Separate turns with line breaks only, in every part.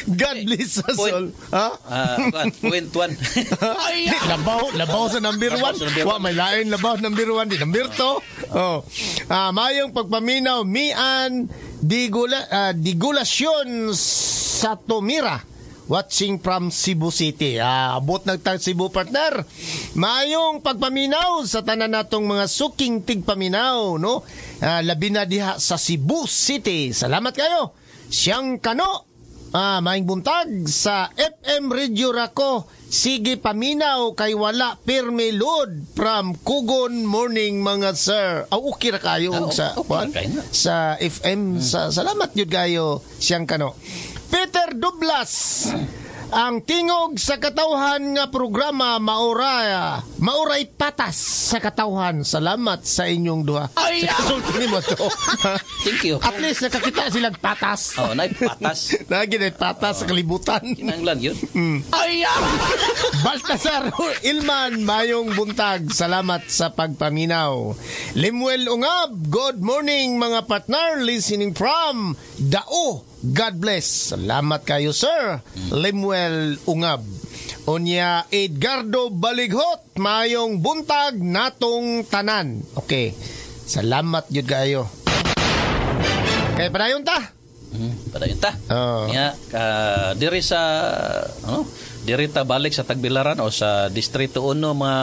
God bless us
Point.
all. Ha?
Kuan, point one.
Labaw, labaw sa number
Labaw
one.
sa number
Wa
one.
may lain labaw number one di number two. Oh. Mayong pagpaminaw mian digulasyon sa Tumira. Watching from Cebu City. Abot nagtag Cebu, partner. Mayong pagpaminaw sa tanan natong mga suking tigpaminaw, no? Labi na diha sa Cebu City. Salamat kayo. Siyang kano. Maing buntag sa FM Radio Rako. Sige paminaw kay wala pirmi load from Kugon morning mga sir. Aw, okay ra kayo og sa
okay
kuan?
ra kayo na.
Sa FM sa salamat yun kayo, siyang kano. Peter Dublas, ang tingog sa katawhan nga programa maura mauray patas sa katawhan. Salamat sa inyong duha. Ay, sa kasulti nimo to.
Thank you.
At least nakakita silang patas.
Oh, nay patas.
Lagi na patas sa kalibutan.
Kinahanglan yun.
Baltasar Ilman, mayong buntag. Salamat sa pagpaminaw. Limuel Ungab, good morning mga partner listening from Dao. God bless. Salamat kayo, sir. Limuel Ungab. Unya Edgardo Balighot, mayong buntag natong tanan. Okay. Salamat jud kayo. Kay padayon ta.
Padayon ta.
Oo.
Nya diri sa ano, diri ta balik sa Tagbilaran o sa Distrito 1 mga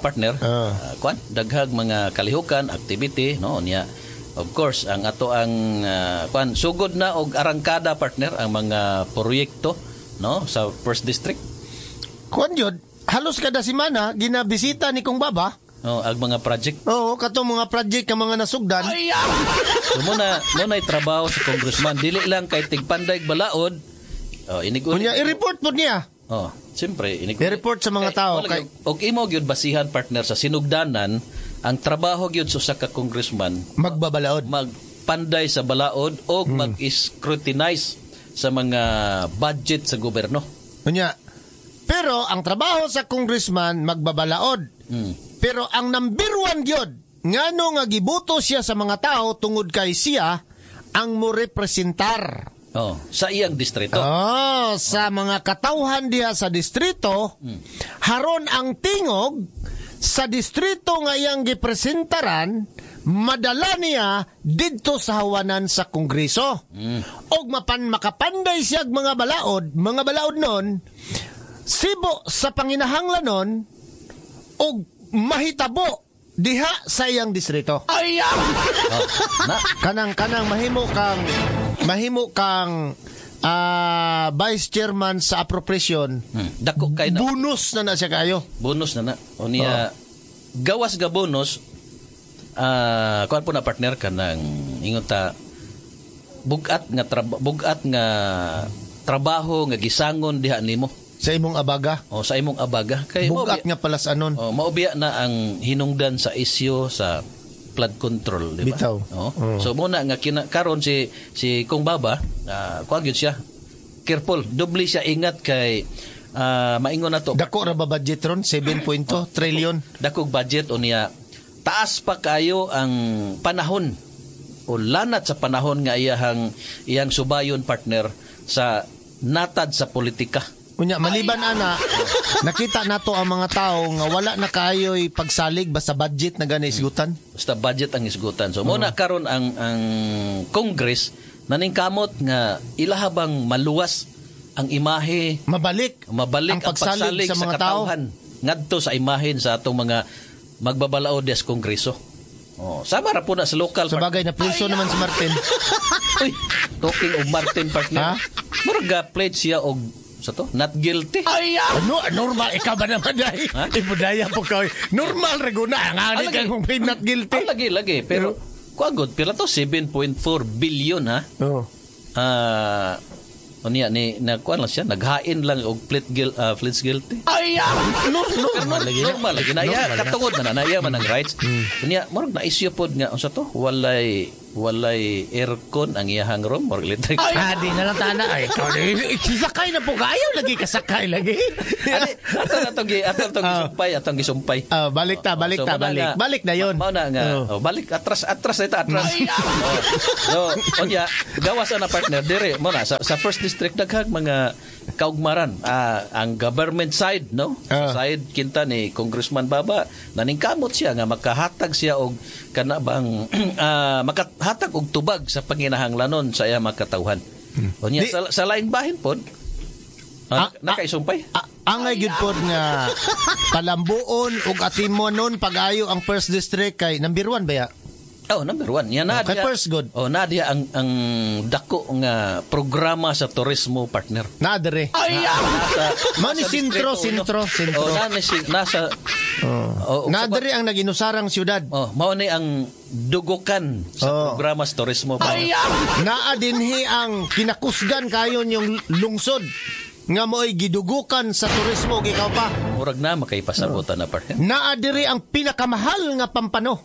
partner.
Oo.
Kuan, daghag mga kalihukan, activity, no, niya. Of course, ang ato ang kuan sugod na og arangkada, partner, ang mga proyekto, no, sa first district.
Kuan jud, halos kada semana ginabisita ni kong baba.
No, ang mga project.
Oo, katong mga project nga mga nasugdan.
So mo na trabaho sa congressman, dili lang kay tigpanday balaod. Oh, inig
Unya i-report po niya.
Oh, siyempre inig
I-report sa mga tao
wala gyud. Og imo gyud basihan, partner, sa sinugdanan ang trabaho gyud sa usa ka congressman
Magbabalaod.
Magpanday sa balaod o mag-scrutinize sa mga budget sa gobyerno.
Unya. Pero ang trabaho sa congressman magbabalaod. Pero ang number one gyud, ngano nga giboto siya sa mga tao tungod kay siya ang mo representar.
Oh, sa iyang distrito.
Oh, sa mga katawhan diha sa distrito, haron ang tingog sa distrito nga iyang gipresentaran madala niya didto sa hawanan sa Kongreso. Og mapan makapanday siya og mga balaod nun, sibo sa panginahanglanon og mahitabo diha sa iyang distrito.
Oh, na.
Kanang kanang mahimo kang vice chairman sa appropriation.
Dako kay na.
Bonus na na siya kayo.
Bonus na na. O niya, gawas ga bonus, kuan po na, partner, ka ng ingon ta bugat nga trabaho nga gisangon diha nimo
sa imong abaga.
O sa imong abaga kay
Bugat nga palasanon.
Oh, maubiya na ang hinungdan sa isyu sa flood control, di ba?
Bitaw.
Oh. So muna nga kina, karon si si Kong Baba, kuan gyud siya. Careful, doble siya ingat kay maingon na to.
Dako ra ba budget ron? 7.2 trillion.
Dakog budget o niya taas pa kayo ang panahon o lanat sa panahon nga iyahang iyang subayon, partner, sa natad sa politika.
Unya maliban ana, nakita nato ang mga tao nga wala na kaayo'y pagsalig basta budget na gani isgutan.
Basta budget ang isgutan. So muna karon ang Congress naningkamot nga ilahabang maluwas ang imahe,
Mabalik
mabalik
ang pagsalig sa mga tao.
Katawhan ngadto sa imahen sa atong mga magbabalaod sa Kongreso. Oh, sama ra po na sa local.
Sa bagay na preso naman si Martin.
Uy, talking of Martin, partner.
Ha?
Murag ga pledge siya og sa to, not guilty.
Ano, normal ikaw ba naman ay?
Ha?
Ibudaya po ka. Normal ra guna ang ani
Lagi.
kang kung not guilty.
Ah, lagi lagi pero kuan god pila to, 7.4 billion, ha.
Oh.
Unya ni na kuan lang siya, naghain lang og plead guilty.
Normal lagi na.
Normal lagi na iya,
Normal na.
katungod na na iya man ang rights. Unya murag na issue pod nga unsa to, walay Walay aircon ang iyahang room or electric.
Ah, di na lang tana. Ay, ikaw, sisakay na po kayo. Lagi kasakay lagi.
Ani, ato na tong ato tong gisumpay, atong gisumpay.
Ah, balik ta, balik
So,
ta,
mao na
balik.
nga-
Balik na yun.
Mao na nga.
Oh.
Oh, balik atras, atras na ito, atras. Oh. So, unya, gawas na partner dire mo na sa first district daghang mga kaugmaran, ang government side, no? Sa side kinta ni Congressman Baba, naningkamot siya nga makahatag siya og kana bang makahatag og tubag sa panginahanglanon sa iyang mga katawhan. Unya sa laing bahin pod, nakaisumpay.
Angay gyud pod nga palambuon ug atimonon pag-ayo ang first district kay number 1 ba ya?
Oh, number 1. Yan na
Okay, first good.
Oh, na diya ang dako nga programa sa turismo, partner.
Na dire.
Nasa,
Mao ni
nasa
sentro,
Distrito Uno.
sentro, sentro.
Oh, na ni nasa oh,
Na diri ang naginusarang syudad.
Oh, mao ni ang dugukan sa programa sa turismo, partner.
Naa dinhi ang kinakusgan kayon yung lungsod nga mo'y gidugukan sa turismo ug ikaw pa.
Murag na makaipasabutan na, partner.
Naa diri ang pinakamahal nga pampano.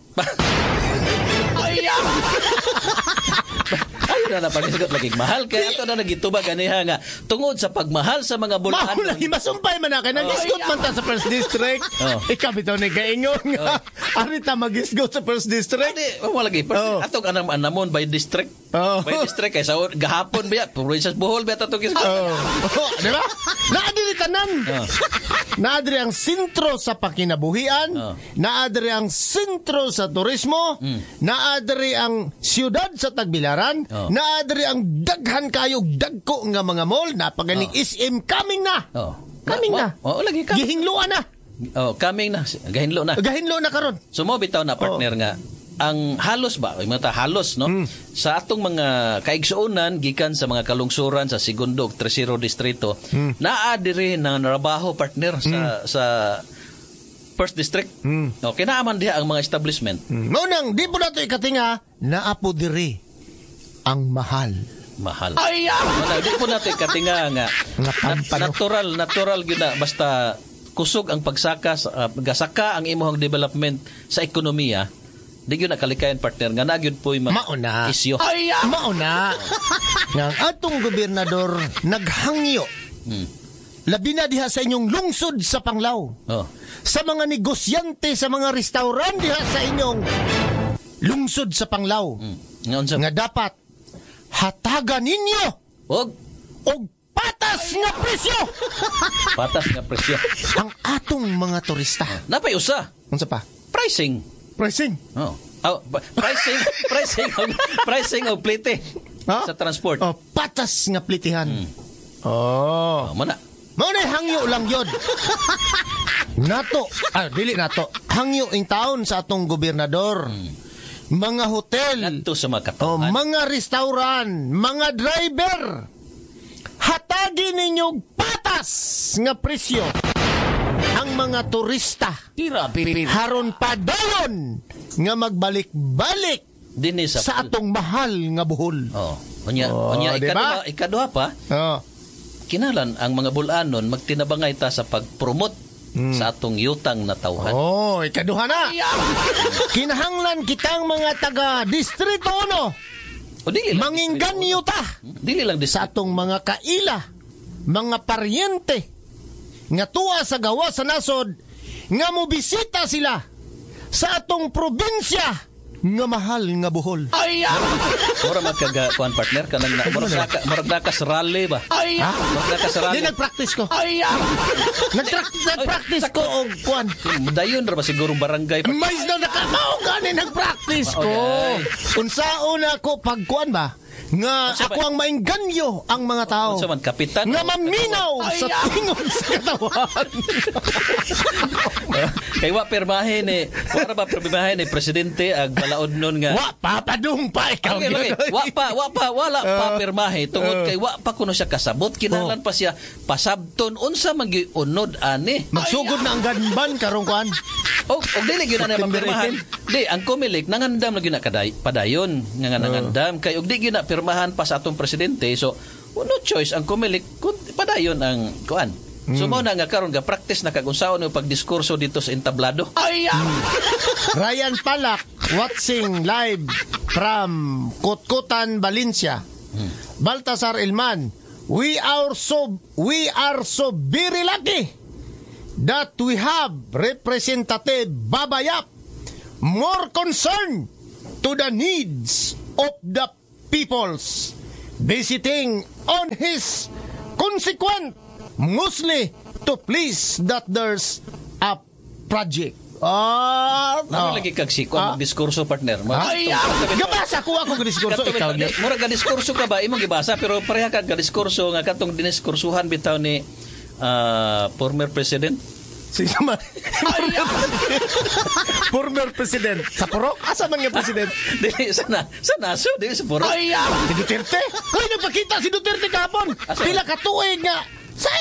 Ayun na na paghisgot lagi mahal kay ato na nagitubag ganiha nga tungod sa pagmahal sa mga bulaan.
Mao lagi masumpay man na kay nagisgot man ta sa first district. Ikaw bitaw ni gaingon nga ari ta magisgot sa first district.
Adi, wala lagi. Atong anam anamon by district. By district kay sa gahapon ba probinsya Bohol ba atong gisgot.
Oh. Di ba? Naa diri tanan. Naa diri ang sentro sa pakinabuhian, naa diri ang sentro sa turismo, naa diri ang siyudad sa Tagbilaran, naa diri ang daghan kayo dagko nga mga mall, napaganing SM coming na. Coming na.
Oh, lagi ka.
Gihingloan na.
Oh, coming na. Gahinlo na.
Gahinlo na karon.
So mo bitaw na partner nga ang halos ba, yung mga halos, no? Sa atong mga kaigsuonan gikan sa mga kalungsuran sa segundo ug tercero distrito, naa diri na narabaho, partner, sa first district. Okay, naa man diha ang mga establishment.
Mao nang di po nato ikatinga, naa po diri ang mahal.
Mahal. Wala, di po nato ikatinga nga
Nga pampano.
natural gyud na basta kusog ang pagsaka, gasaka ang imong development sa ekonomiya. Di gyud na kalikayan, partner, nga na gyud po'y mga
Mauna.
isyo.
Mauna. Nga ang atong gobernador naghangyo. Labi na diha sa inyong lungsod sa Panglao.
Oh.
Sa mga negosyante, sa mga restaurant diha sa inyong lungsod sa Panglao.
Nga unsa?
Nga dapat hatagan ninyo
og
og patas nga presyo.
Patas nga presyo.
Ang atong mga turista.
Napay usa.
Unsa pa?
Pricing.
Pricing.
Oh. Oh, pricing, pricing og plite sa transport.
Oh, patas nga plitihan. Oh.
Oh, mo na.
Mao na hangyo lang yun. Nato, dili nato. Hangyo in town sa atong gobernador. Mga hotel,
Ngadto sa mga
oh,
katawhan.
mga restaurant, mga driver. Hatagi ninyo patas nga presyo ang mga turista. Haron padayon nga magbalik-balik
Dinhi
sa atong mahal nga Bohol.
Oh, unya,
Oh,
unya
di ba?
ikaduha pa.
Oh.
Kinalan ang mga bulanon magtinabangay ta sa pag-promote sa atong yutang na tawhan.
Oh, ikaduha na. Kinahanglan kitang mga taga Distrito 1.
O dili lang
Mangingganyo ta
Dili lang
sa
distrito.
atong mga kaila, mga paryente nga tuwa sa gawa sa nasod nga mobisita sila sa atong probinsya nga mahal nga Bohol.
Mura magkaga kuan, partner, kanang na, murag na kas rally ba?
Ha?
Murag na kas
Di
rally.
nagpractice ko. Nagpractice ko og kuan.
Dayon ra ba siguro barangay?
Mais na naka mao gani nagpractice ko. Unsaon ako pagkuan ba? Nga ako ang maingganyo ang mga tao.
Unsa man kapitan?
Nga maminaw sa tingog sa katawan.
Kay wa pirmahe ni, wa ra ba pirmahe ni presidente ag balaod nun nga.
Wa pa padung pa ikaw.
Okay. Wa pa, wala pa pirmahe tungod kay wa pa kuno siya kasabot, kinahanglan pa siya pasabton unsa man gyud unod ani.
Magsugod na ang ganban karong kuan.
Og dili gyud na
September
mapirmahan. Di ang Comelec nangandam na gyud na kaday, padayon nga nangandam kay og di gyud na pirmahan pa sa atong presidente, so no choice ang Comelec kun padayon ang kuan. So mao na nga karon ga practice na kag unsaon yung pagdiskurso dito sa entablado.
Ryan Palak, Watching live from Kutkutan, Valencia. Baltasar Ilman, we are so very lucky that we have Representative Baba Yap more concerned to the needs of the peoples, visiting on his consequent mostly to please that there's a project. Ah,
Ano lagi kag siko
Ah.
diskurso, partner.
Ah? Gabasa ko ako diskurso, ikaw
Di, murag ka diskurso ka ba imong gibasa, pero pareha ka diskurso nga katong diniskursuhan bitaw ni former president.
Sino man? Former president. Sa Purok? Asa man nga president?
Dili sa naso, dili sa Purok.
Si Duterte? Uy, nagpakita si Duterte kahapon.
Asa?
Pila ka tuig nga sa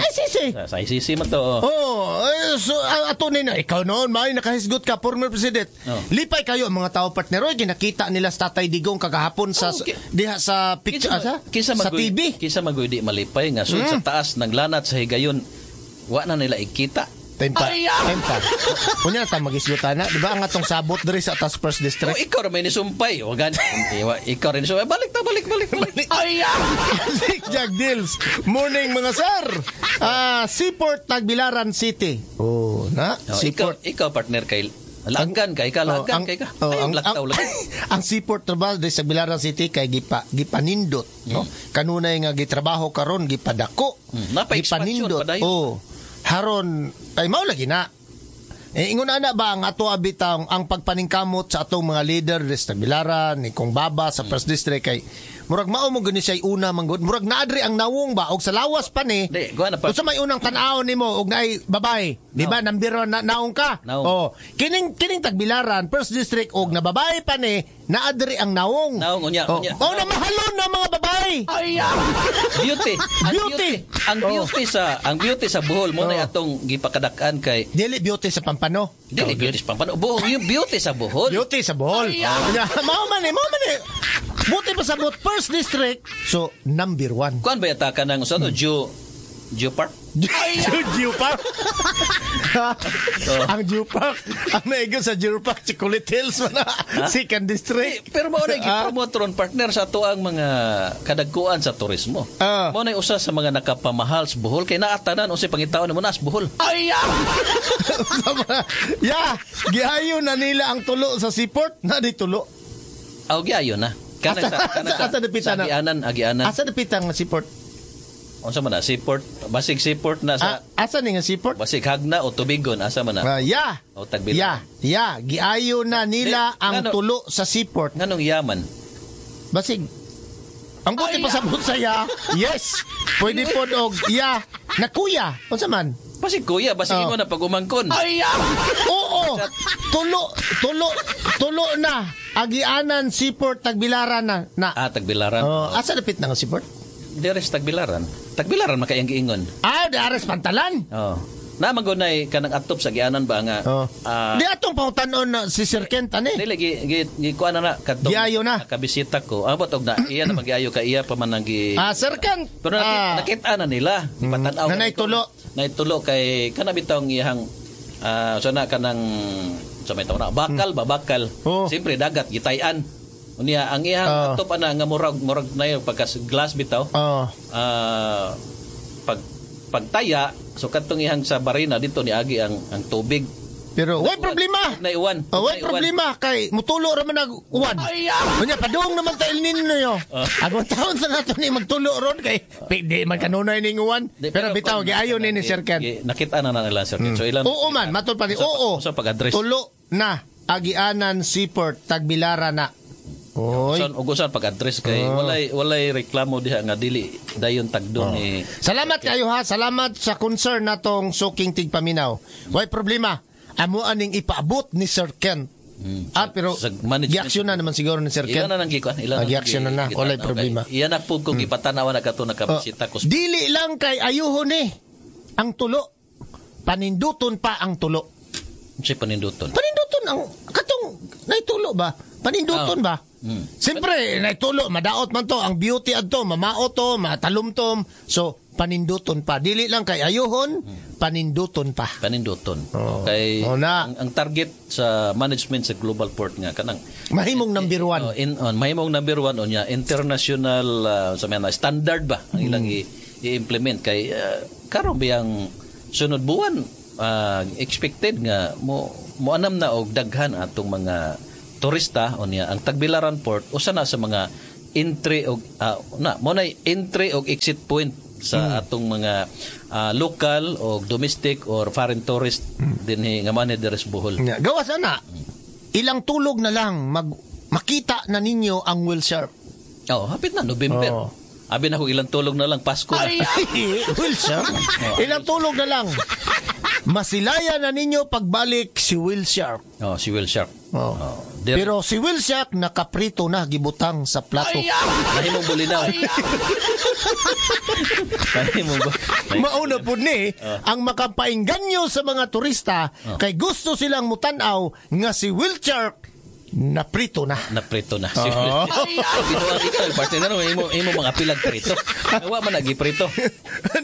ICC.
Sa ICC man to. Oh.
Oh, eh, so ato ni na ikaw noon may nakahisgot ka, former president.
Oh.
Lipay kayo ang mga tao, partner. Oy, ginakita nila sa Tatay Digong kagahapon sa
Oh,
diha sa picture,
Kinsa
sa TV.
Kinsa magoy di malipay nga sud sa taas ng lanat sa higayon wa na nila ikita?
Tempa. Tempa. Unya ta magisgutan na, di ba ang atong sabot diri sa atas first
Oh,
district?
ikaw ra may nisumpay. O gani. Ikaw rin nisumpay. Balik ta, balik, balik, balik.
Nick Jack Deals. Morning, mga sir. Ah, Seaport Tagbilaran City. Oh, na
Oh, ikaw,
Seaport.
ikaw, partner, kay lagan kay ka,
Oh,
lagan kay ka.
oh,
Ay, laktaw
ang,
lagi.
Ang seaport trabaho diri sa Tagbilaran City kay gipanindot, no? Kanunay nga gitrabaho karon gipadako.
Napa-expansion
Gipanindot.
pa dayon.
Oh. Haron ay mao lagi na. Eh, ingon ana ba ang ato abitaw ang pagpaningkamot sa atong mga leader diri sa Tagbilaran ni Kong Baba sa first district kay murag mao mo gani siya una manggod, murag naadri ang nawong ba og sa lawas pa ni?
Di, kuha na pa.
Unsa may unang tan-awon nimo og naay babae, di ba? Number one na, naong ka.
Naong.
Oh, kining Tagbilaran first district og na babae pa ni, naadri ang naong.
Naong, unya,
Oh,
unya.
oh, na mahalon na mga babae.
Beauty. Ang
Beauty.
beauty. Ang beauty sa Bohol mo na atong gipakadak-an kay
Dili beauty sa Pampano.
Dili beauty sa Pampano. Bohol, yung beauty sa Bohol.
Beauty sa Bohol. Unya, mao man eh, mao man eh. Buti pa sa bot first district. So, number one.
Kuan ba yata ka ng usa to Geo Geo Park?
Geo Park. Ang Geo Park. Ang naigo sa Geo Park, Chocolate Hills man na. Second district.
Eh, pero mao na gipromote ron, partner, sa ato ang mga kadagkuan sa turismo. Mao na usa sa mga nakapamahal sa Bohol kay naatanan unsay pangitaon nimo na sa Bohol.
Ya, gihayo na nila ang tulo sa seaport. Na di tulo.
Aw, giayo na. Kana sa kana sa,
Asa dapita
sa
na?
Agianan, Agianan.
Asa dapita nga seaport?
Unsa man na seaport? Basig seaport na sa
Ah, asa ni nga seaport?
basig Hagna o Tubigon, asa man na?
Ah, ya.
O Tagbilaran.
Ya, ya, giayo na nila
Di,
ang
ngano-
tulo sa seaport.
Nganong yaman?
Basig. Ang buti pa sa ya. Yes. Pwede po og ya. Na kuya. Unsa man?
Basig kuya, basig
Oh.
imo na pag-umangkon.
Oo. Tulo, tulo, tulo na. Agianan seaport Tagbilaran na. Na.
Ah, Tagbilaran.
Oh, asa dapit na nga seaport?
Deres Tagbilaran. Tagbilaran makayang giingon.
Ah, di ares Pantalan.
Oh. Na magunay kanang atop sa Agianan ba nga?
Oh.
Ah,
Di atong pangutan-on na si Sir Kent ani.
Dili gi gi, gi kuan na na kadtong
Giayo na.
Nakabisita ko. Abot og na iya na magiayo ka iya pa man ang gi
Ah, Sir Kent.
Pero nakita, nakita na nila, ipatan-aw
Na naitulo.
Naitulo kay kana bitong iyang so na kanang sa may tawo na bakal ba bakal.
Oh.
Siyempre dagat gitayan. Unya ang iyang atop ana nga murag murag na yun, pagka glass bitaw.
Oh.
Pag pagtaya so kadtong iyang sa barina dito niagi ang tubig.
Pero way problema.
Naiwan.
Oh, way
Naiwan.
problema kay mutulo ra man nag uwan. Unya padung naman ta El Nino yo. Agong taon sa nato ni magtulo ron kay di man kanunay ning uwan.
Di,
Pero bitaw giayo ni ni Sir Ken.
Nakita na na nila Sir Ken. So ilan
Oo man, matod pa ni. Oo.
Sa pag-address.
Tulo na Agianan Seaport Tagbilaran na. Oy.
Usan ug usan pag-address kay walay walay reklamo diha nga dili dayon tagdo ni
Salamat kayo ha. Salamat sa concern natong suking tigpaminaw. Way problema. Amo aning ipaabot ni Sir Ken. Ah, pero
Sa management.
giaksyon na naman siguro ni Sir Ken.
Ilan na nang gikuan, ilan
Ah, giaksyon na na. Walay problema.
Iyan na po kung gipatanaw na kato nakabisita ko.
Oh, dili lang kay ayuhon ni ang tulo. Paninduton pa ang tulo.
Si paninduton.
Paninduton ang katong naitulo ba? Paninduton ba? Siyempre, naitulo, madaot man to, ang beauty adto, mamao to, matalumtom. So, Paninduton pa. Dili lang kay ayuhon, paninduton pa.
Paninduton.
Oo.
Kay
Oo na.
ang target sa management sa Global Port nga kanang
Mahimong number one.
Oh, mahimong number one unya international sa mga standard ba ang ilang i-implement kay karon biyang sunod buwan expected nga mo moanam na og daghan atong mga turista. Unya ang Tagbilaran Port usa na sa mga entry og na mo nay entry og exit point sa atong mga local o domestic or foreign tourist dinhi nga manhi diri sa Bohol.
Nga, gawas ana. Ilang tulog na lang makita na ninyo ang whale shark.
Oh, hapit na November.
Oo.
Abi na ko ilang tulog na lang, Pasko na.
Whale shark. Ilang tulog na lang. Masilaya na ninyo pagbalik si whale shark.
Oh, si whale shark.
Oh.
Oh,
Pero si whale shark nakaprito na, gibutang sa plato.
Mahimong bulinaw. Mahimong ba?
Mauna po ni ang makapainganyo sa mga turista kay gusto silang mutanaw nga si whale shark naprito na.
Naprito na. Si whale shark. Binuang ito, partner, imo mga pilag prito. Wa man nagi prito.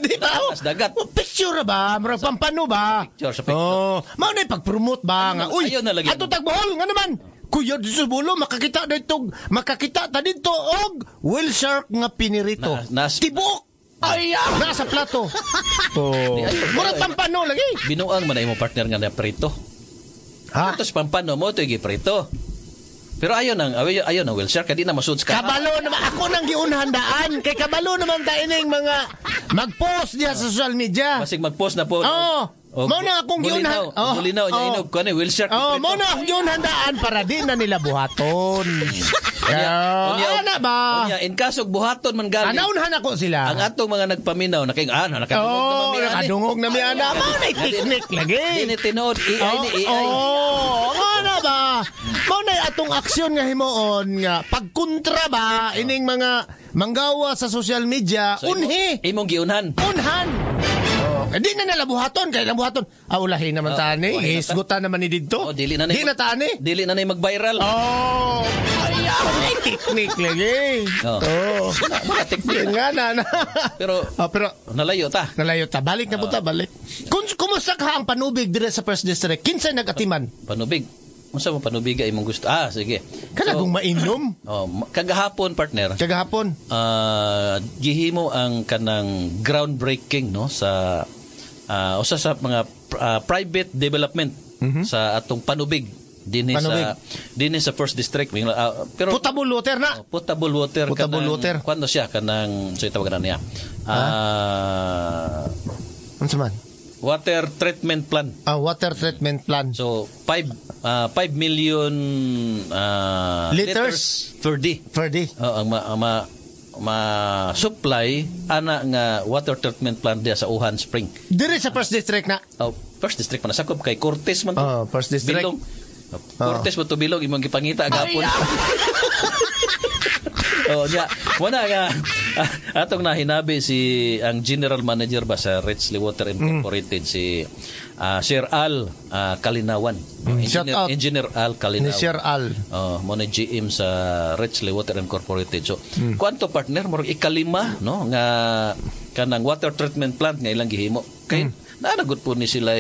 Di ba?
Taas dagat.
Oh, picture ba? Murag pampano ba?
Picture sa picture.
Oh, mao na pag-promote ba nga. Uy,
Ayaw na lagi.
ato tag Bohol nga naman. Kuya dito sa bulo makakita ta dito og whale shark nga pinirito. Tibuok. Ay, nasa plato. Oh. Murag pampano lagi.
Binuang man na imo partner nga naprito.
Ha?
Tapos pampano mo to giprito. Pero ayaw ang whale shark kay di na masud sa
Kabalo naman ako nang giunhan daan kay kabalo naman ta ining mga mag-post diha sa social media.
Basig mag-post na po.
Oo. Mao na akong giunhan.
Oh, bulinaw niya inog kuan whale shark.
Oh,
giprito.
mao na akong giunhan daan para di na nila buhaton.
Unya,
unya, ana ba?
Unya, in kaso buhaton man gali.
Anaunhan ako sila.
Ang atong mga nagpaminaw naking nakadungog
Oh,
na mami ani.
nakadungog na mi ana. Mao na technique lagi.
Di ni tinuod AI ni AI.
Oh, nga na ba? Mao na atong aksyon nga himuon nga pagkontra ba ining mga manggawa sa social media,
So,
unhi.
Imong giunhan.
Unhan. Oh, hindi na nila buhaton kay ilang buhaton. Ah, ulahin naman
Oh,
tani.
ulahin na ta.
Hisgutan naman ni didto.
Oh, dili na
Di na tani.
Dili na nay mag-viral.
Oh. Ay, technique lagi.
Oh.
Oh.
Wala technique.
Yun nga na.
Pero
Oh, pero
nalayo ta.
nalayo ta. Balik na po ta, balik. Kung kumusta ka ang panubig dire sa First District? Kinsa nagatiman?
Panubig. Unsa mo panubiga imong gusto? Ah, sige.
Kana kung mainom
Oh, kagahapon, partner.
Kagahapon.
Gihimo ang kanang groundbreaking no sa usa sa mga private development sa atong panubig dinhi
Panubig.
sa dinhi sa First District. Pero
Potable water na.
Oh, potable water.
Potable
kanang,
water.
Kuan siya kanang so tawag na niya.
Unsa man?
Water treatment plant.
Ah, water treatment plant.
So 5 million
Liters?
per day.
Per day.
Oh, ang ma supply ana nga water treatment plant diya sa Uhan Spring.
Dire sa First District na.
Oh, First District man sakop kay Cortez man to.
Oh, First District.
Bilong. Cortez man to bilong imong gipangita gapon. Oh, nya. Wala nga atong nahinabi si ang general manager ba sa Richley Water Incorporated si Sir Al Kalinawan.
Shout
Engineer,
out.
Engineer Al Kalinawan.
Ni Sir Al.
Oh, mo na GM sa Richley Water Incorporated. So, kuanto partner murag ikalima no nga kanang water treatment plant nga ilang gihimo. Kay naa na gud po ni sila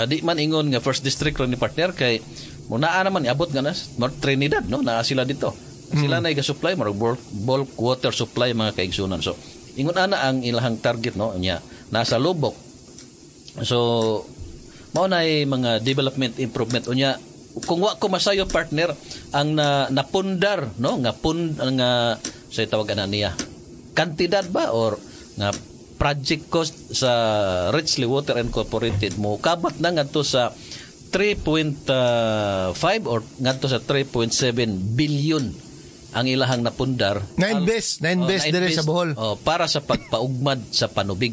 di man ingon nga First District ron ni partner kay mo naa naman iabot nga na North Trinidad no naa sila dito. Sila na ga-supply murag bulk water supply mga kaigsunan. So, ingon ana ang ilahang target no nya nasa lubok. So mao na mga development improvement unya kung wa ko masayo partner ang na, napundar no nga pund nga sa tawag na niya kantidad ba or nga project cost sa Richley Water Incorporated mo kabat na ngadto sa 3.5 or ngadto sa 3.7 billion ang ilahang napundar.
Na-invest, na-invest
Oh,
dire sa Bohol.
Oh, para sa pagpaugmad sa panubig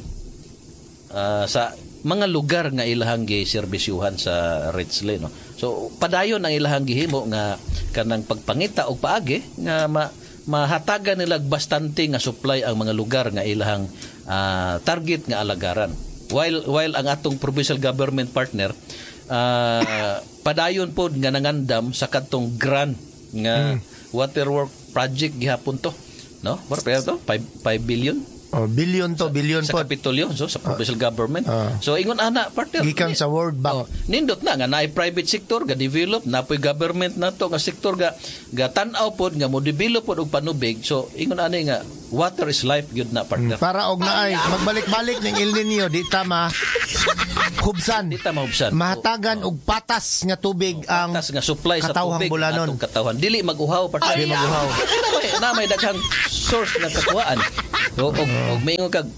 sa mga lugar nga ilahang giserbisyuhan sa Richley no. So padayon ang ilahang gihimo nga kanang pagpangita og paagi nga mahatagan nila bastante nga supply ang mga lugar nga ilahang target nga alagaran. While ang atong provincial government partner padayon pod nga nangandam sa kadtong grant nga waterwork project gihapon to no. Mura pa to 5 billion.
Oh, billion to, billion
sa
po.
Kapitolyo, so sa provincial government. So ingon ana, partner.
Gikan sa World Bank.
Oh, nindot na nga naay private sector ga develop, napoy government nato nga sektor ga tan-aw pod nga mo develop pod og panubig. So ingon ani nga water is life gyud na, partner.
Para og naay magbalik-balik ning El Nino, di ta ma hubsan.
Di ta mahubsan.
Mahatagan og patas nga tubig ang
patas nga supply sa
katawhang
tubig
Bulanon.
atong katawhan. Dili mag-uhaw, partner.
Dili mag-uhaw.
Na may daghang source nga kakuhaan. O og maingon kag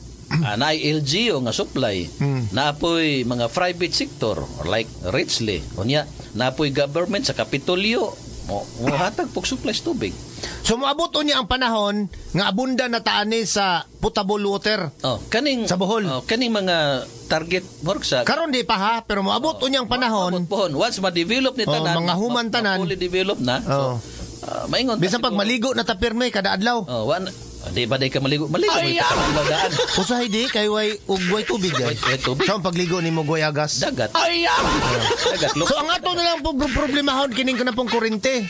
naay LGU nga supply, naapoy mga private sector like Richley, unya naapoy government sa Kapitolyo mo hatag pog supply sa tubig.
So moabot unya ang panahon nga abunda na taani sa potable water.
Oh, kaning
Sa Bohol.
Oh, kaning mga target work sa
Karon di pa ha, pero moabot unya ang panahon.
Moabot pohon. Once ma-develop ni
Oh,
tanan,
mga human tanan.
fully develop na.
Oh.
So, maingon ta
Bisan pag
siguro.
maligo na ta pirme kada adlaw.
Oh, wan, di ba day ka maligo? Maligo mo ka daan.
Usahay di kay way ug way tubig ay.
Way tubig.
So ang pagligo nimo way agas.
Dagat. Dagat.
So ang ato na lang po problemahon kining kana pong kurente.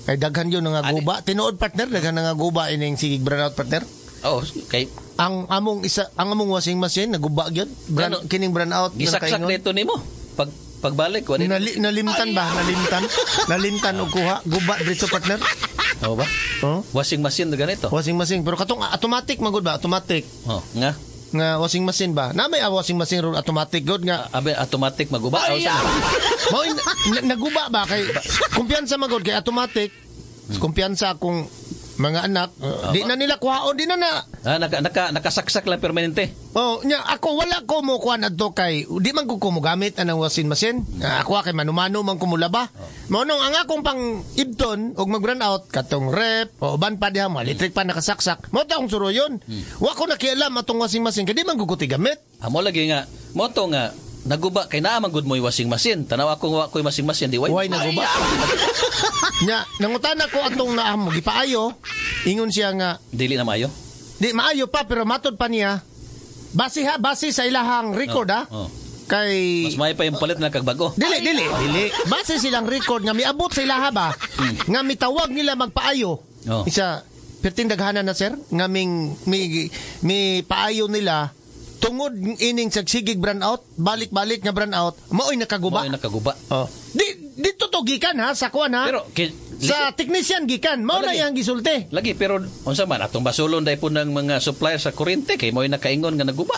Kay daghan yun nga guba. Tinuod, partner, daghan nga guba ining sigig brownout, partner.
Oh, kay
Ang among isa ang among washing machine naguba gyud.
Ano?
Kining brownout nga
gisaksak
nakaingon.
nito nimo. Pagbalik wala.
Nalimtan ba? Nalimtan? Nalimtan og kuha. Guba diretso, partner.
Oh ba?
Oh.
Washing machine na ganito.
Washing machine pero katong automatic magud ba? Automatic
Oh, nga.
nga washing machine ba? Na may washing machine ron automatic good nga.
Abe automatic maguba. Oh, sa
Mao naguba ba kay kumpiyansa magud kay automatic. Kumpiyansa akong mga anak, di na nila kuhaon, di na na.
Ah, naka, naka nakasaksak lang permanente.
Oh, nya ako wala ko mo kuan adto kay di man ko gamit anang washing machine. Ako kay manumano man ko mulaba. Mao nung ang akong pang ibton og mag run out katong rep o uban pa diha mga electric pa nakasaksak. Mao ta akong suroyon. Wa ko nakialam atong washing machine kay di man ko gamit.
Amo lagi nga moto nga naguba kay naa man gud mo'y washing machine. Tanaw ako wa ko'y washing machine di way.
Way naguba. Nya nangutana ko atong naamo gipaayo. Ingon siya nga
Dili na maayo.
di maayo pa pero matod pa niya. Base ha, base sa ilahang record ha.
Oh.
Kay
Mas maayo pa yung palit na kag bago.
Dili, dili, dili. Base silang record nga miabot sa ilaha ba nga mitawag nila magpaayo.
Oh.
Isa perting daghanan na, sir, nga ming mi paayo nila tungod ining sagsigig brand out, balik-balik nga brand out, maoy nakaguba.
Mao'y nakaguba.
Oh. Di dito to gikan ha sa kuan ha.
Pero
sa technician gikan, mao na
Lagi.
iyang gisulti.
Lagi pero unsa man atong basulon dai po ng mga supplier sa kuryente kay mo'y nakaingon nga naguba.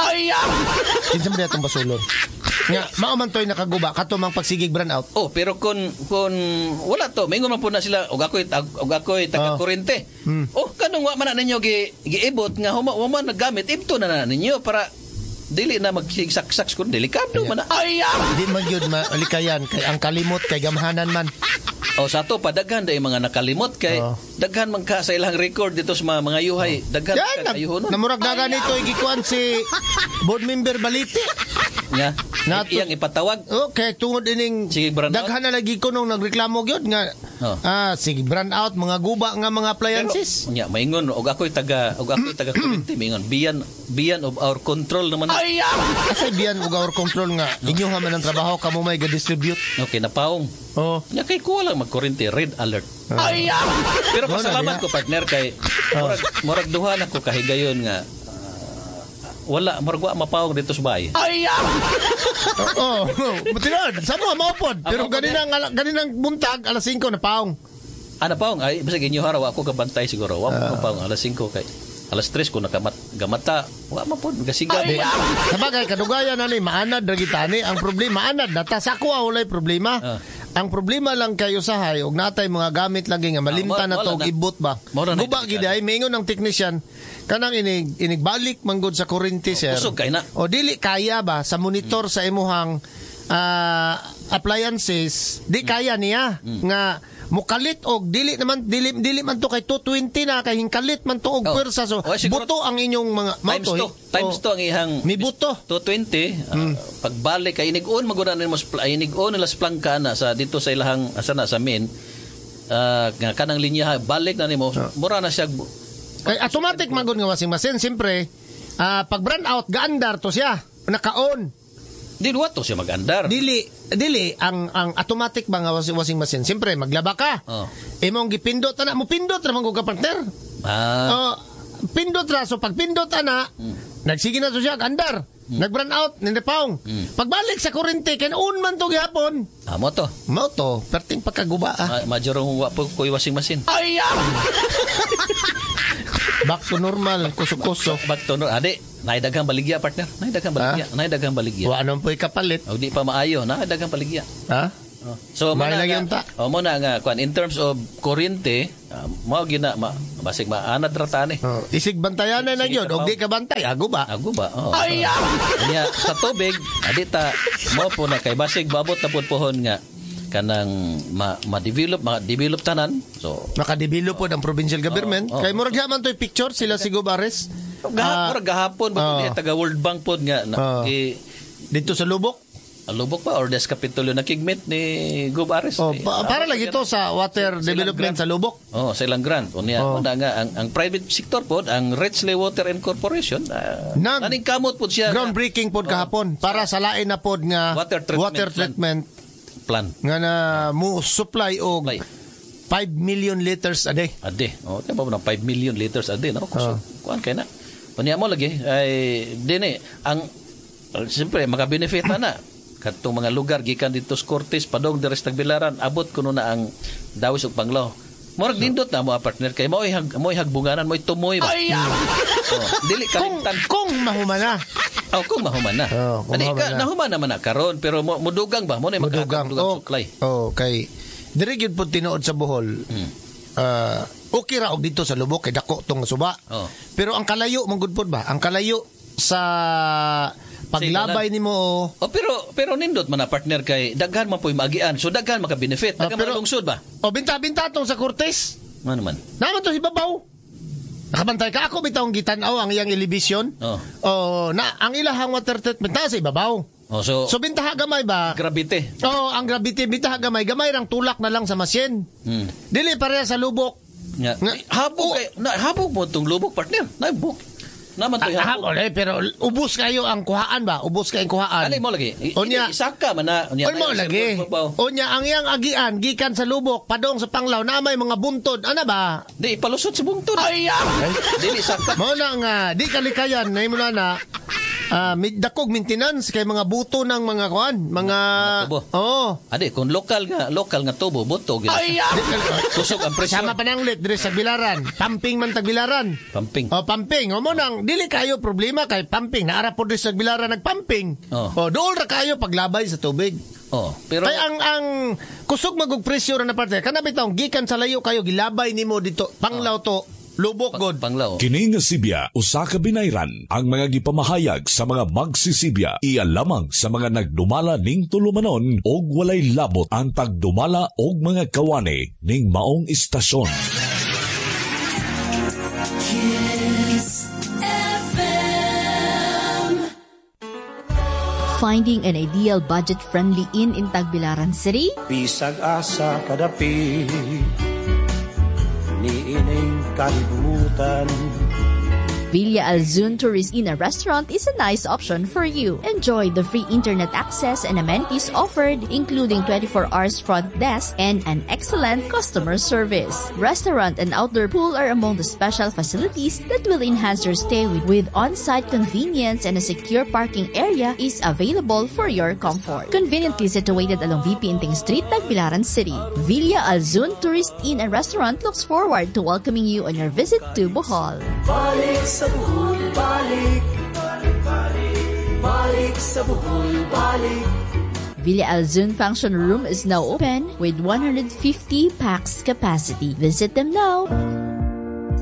Kinsa man atong basulon? Nga mao man toy nakaguba kato mang pagsigig brand out.
Oh, pero kung wala to, maingon man po na sila og ako'y taga kuryente. Oh, kanong wa man na ninyo giibot nga huma wa man naggamit ibto na na ninyo para dili na magsigsaksak kun delikado man na.
Di man gyud malikayan kay ang kalimot kay gamhanan man.
Oh, sa ato pa daghan day mga nakalimot kay daghan man ka sa ilang record dito sa mga yuhay, daghan
Yan,
ka ayuhonon.
namurag na ganito igikuan si board member Baliti.
Nga
Nato-
iyang ipatawag.
Okay, tungod ining
Sige, brand out.
daghan na lagi ko nung nagreklamo gyud nga sige brand out mga guba nga mga appliances.
Pero, nya maingon og ako'y taga kuryente maingon biyan of our control naman.
Asay biyan og our control nga inyo man ang trabaho kamo may ga-distribute.
Okay, napaong.
Oh.
Nya kay kuha lang magkuryente, red alert. Pero
Mo na
pasalamat
diha.
ko, partner, kay murag duha na ko kahigayon nga wala murag wa mapawong dito sa bahay.
Oo, oh, tinuod. Sa mo maupod. Pero
Mao pod
ganinang buntag alas 5 na paong.
Ah, napaong ay bisag inyo hara wa ako kabantay siguro. Wa mo paong alas 5 kay alas 3 ko nakamat gamata. Wa man pod gasiga.
Sabagay kadugayan na ni maanad ra gitani ang problema anad na ta sa ako walay problema. Ang problema lang kay usahay og natay mga gamit lagi nga malimtan na to og ibot ba. Guba gid ay maingon ang technician kanang inig inigbalik manggod sa kuryente, sir.
Kusog kay na.
O dili kaya ba sa monitor sa imuhang appliances, di kaya niya nga mukalit og dili naman dili man to kay 220 na kay hingkalit man to og pwersa, so
Oh, siguro
buto ang inyong mga
times
mao to,
2 times 2 ang ihang
mi buto
220 pagbalik kay inig-on maguna nimo inig-on nila sa plangka na sa dito sa ilahang asa na sa main nga kanang linya balik na nimo mura na siya
kay automatic man gud nga washing machine siyempre pag brand out gaandar to siya naka-on.
Di wa to siya mag-andar.
Dili ang automatic ba nga washing machine siyempre maglaba ka. Imong gipindot na mo pindot ra man gud ka, partner. Pindot ra, so pag pindot ana, nagsige na to siya andar. Nag-brown out, nindepaong. Pagbalik sa kuryente, kay on man to gihapon.
Ah, mo to.
Mao to, perting pagkaguba ah.
Majorong wa po ko'y washing machine.
Back to normal, kusok-kusok.
Back to normal. Adi, naay daghang baligya, partner. Naay daghang baligya. Naay daghang baligya.
Wa naman po'y kapalit.
O di pa maayo, naay daghang baligya.
Ha?
Oh. So
May
mo na
lagi
nga,
unta.
oh, mo na nga kuan in terms of kuryente, mao gina ma, basig maanad ra ta ni.
Oh, isig bantayanan na
Sige,
yun. Og
kapaw.
di ka bantay, ago ba?
Ago ba? Oh. Ay! Nya, sa tubig, adi ta mo po na kay basig maabot na pud pohon nga kanang ma, ma-develop, ma-develop tanan. So
Nakadevelop po ang provincial government.
Oo, oo.
Kay murag man to'y picture sila si Gubares.
Gahapon, gahapon ba
oh.
oh. Taga World Bank pod nga na,
Dito sa Lubok.
Lubok pa or Des Capitolio nakigmit ni Gub Ares.
Oh, para lagi to sa water
Silang
development
grant.
sa Lubok.
Oh, sa ilang grant. Unya,
Oh.
una nga ang private sector pod, ang Richley Water and Corporation, naning kamot pod siya nga
Groundbreaking pod kahapon para sa lain na pod nga
Water treatment
water
plant.
treatment
plan.
nga na mo supply og
Supply.
5 million liters a day.
Ade. Oh, di ba mo ng 5 million liters a day, no? Kusog. Kuan kay na. Unya mo lagi ay dinhi ang siyempre maka-benefit na na kadtong mga lugar gikan dito sa Cortes padong diri sa Tagbilaran, abot kuno na ang Dawis ug Panglao. Murag nindot na mo partner kay mao'y hagbunganan, mo'y tumoy ba. Oh, dili
Kung
kalimtan.
kung mahumana.
Oh, kung mahuman na.
Oh, kung
Adi,
mahuman na.
Nahuman naman na karon pero mudugang ba mo na
Mudugang.
makakadugang
Oh,
supply.
oh, kay diri gyud pod tinuod sa Bohol. Okay ra og dito sa Lubok kay dako tong suba.
Oh.
Pero ang kalayo man gud pod ba? Ang kalayo sa paglabay nimo.
Oh, pero pero nindot man na partner kay daghan man po'y maagian. So daghan maka-benefit,
Ah,
daghan
pero-
makalungsod ba?
Oh, binta-binta tong sa Cortes.
Ano man?
Naman to si Babaw. Nakabantay ka ako bitawng gitan-aw ang iyang elevation.
Oh.
Oh, na ang ilahang water treatment na sa ibabaw.
Oh, so,
So bintaha gamay ba?
gravity.
Oh, ang gravity bintaha gamay, gamay rang tulak na lang sa machine. Dili pareha sa lubok.
Nga. Habog kay na habog mo tong lubok partner. Naibok. Naman to'y habog.
Ole, pero ubos kayo ang kuhaan ba? Ubos kayo ang kuhaan.
Ano mo lagi?
Unya.
Isaka man na. Unya,
Oy mo lagi. Unya ang iyang agian gikan sa lubok padong sa Panglao na may mga buntod. Ana ba?
Di ipalusot sa bungtod. Ay! Dili saka.
Mao na nga di kalikayan na imo na na dakog maintenance kay mga buto ng mga kuan, mga
tubo.
Oo.
Adi kung lokal nga tubo buto gid. Kusog ang presyo.
Sama pananglit diri sa Bilaran. Pumping man tagbilaran.
Pumping.
Oh, pumping. O mo nang dili kayo problema kay pumping. Naara po diri sa Bilaran nagpumping.
Oh.
Oh, dool ra kayo paglabay sa tubig.
Oh, pero
Kay ang kusog magug presyo ra na parte. Kana bitaw gikan sa layo kayo gilabay nimo dito. Panglao to, lubok god.
Panglao.
Kini nga Sibya usa ka binayran ang mga gipamahayag sa mga magsisibya iya lamang sa mga nagdumala ning tulumanon og walay labot ang tagdumala og mga kawani ning maong istasyon.
Kiss FM.
Finding an ideal budget-friendly inn in Tagbilaran City?
Bisag asa kadapit niining kalibutan.
Villa Alzun Tourist Inn and Restaurant is a nice option for you. Enjoy the free internet access and amenities offered, including 24 hours front desk and an excellent customer service. Restaurant and outdoor pool are among the special facilities that will enhance your stay with on-site convenience, and a secure parking area is available for your comfort. Conveniently situated along VP Inting Street, Tagbilaran City. Villa Alzun Tourist Inn and Restaurant looks forward to welcoming you on your visit to Bohol.
Balik sa Bohol, balik. Balik sa Bohol, balik.
Villa Alzun Function Room is now open with 150 pax capacity. Visit them now.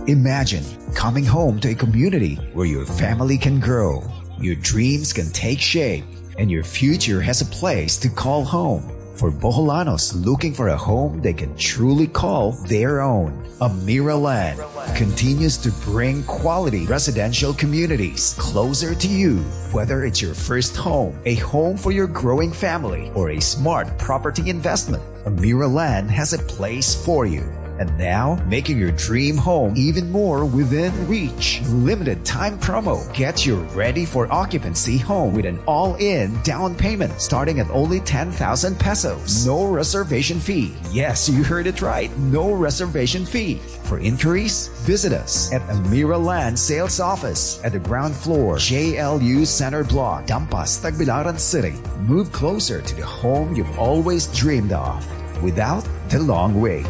Imagine coming home to a community where your family can grow, your dreams can take shape, and your future has a place to call home. For Boholanos looking for a home they can truly call their own, Amira Land continues to bring quality residential communities closer to you. Whether it's your first home, a home for your growing family, or a smart property investment, Amira Land has a place for you. And now, making your dream home even more within reach. Limited time promo. Get your ready for occupancy home with an all-in down payment starting at only 10,000 pesos. No reservation fee. Yes, you heard it right. No reservation fee. For inquiries, visit us at Amira Land Sales Office at the ground floor, JLU Center Block, Dampas, Tagbilaran City. Move closer to the home you've always dreamed of without the long wait.